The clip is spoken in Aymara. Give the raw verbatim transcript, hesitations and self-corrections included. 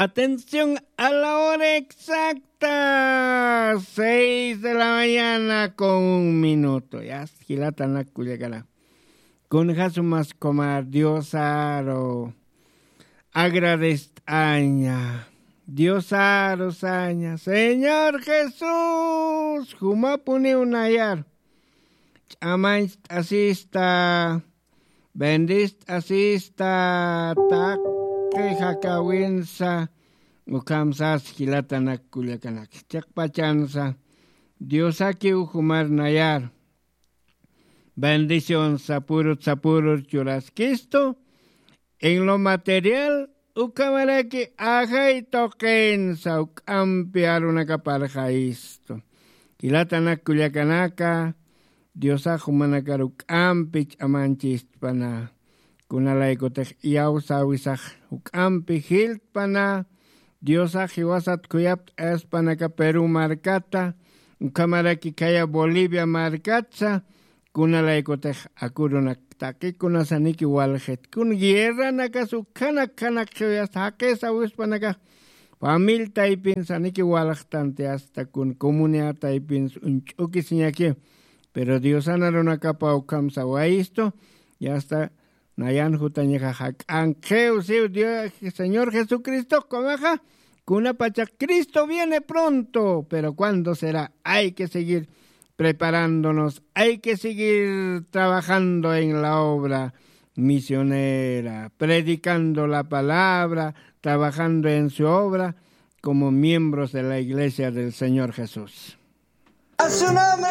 Atención a la hora exacta, seis de la mañana con un minuto. Ya, jilatanak kullakana. Kunjasumas kumar Diosaru agradest'aña. Diosaru saña. Señor Jesús, jumapuniw nayar. Ch'amancht'asista, bendist'asista, taqi jakawinsa, ukham sas jilatanak kullakanak. Chiqpachansa, Diosakiw jumar nayar. Bendición sapurut sapurur churaskistu, en lo material, ukhamaraki ajay tuqinsa, uk'ampi arunakaparxayistu. Jilatanak kullakanaka, Diosax jumanakar uk'ampi ch'amanchistpana. Kunalaykutix iyawsäwisax juk'ampi jiltpana, Diosax jiwasat khuyapt'ayaspanaka Perú markata, ukhamaraki khaya Bolivia markatsa, kunalaykutix akurunak taqikunasaniki waljit. Kun guerranakas ukhanak khanak khiwayasta jaqisa wispanakax, famil taypinsaniki waljtanti, asta kun comunidad taypins uñch'ukisiñaki. Pero Diosan arunakapa ukhamsa wayistu, y asta nayan jutañaxa jak'ankiw, siw Dios, Señor Jesucristo, kumaxa, kunapachaq Cristo viene pronto, pero ¿cuándo será? Hay que seguir preparándonos, hay que seguir trabajando en la obra misionera, predicando la palabra, trabajando en su obra como miembros de la iglesia del Señor Jesús. A su nombre.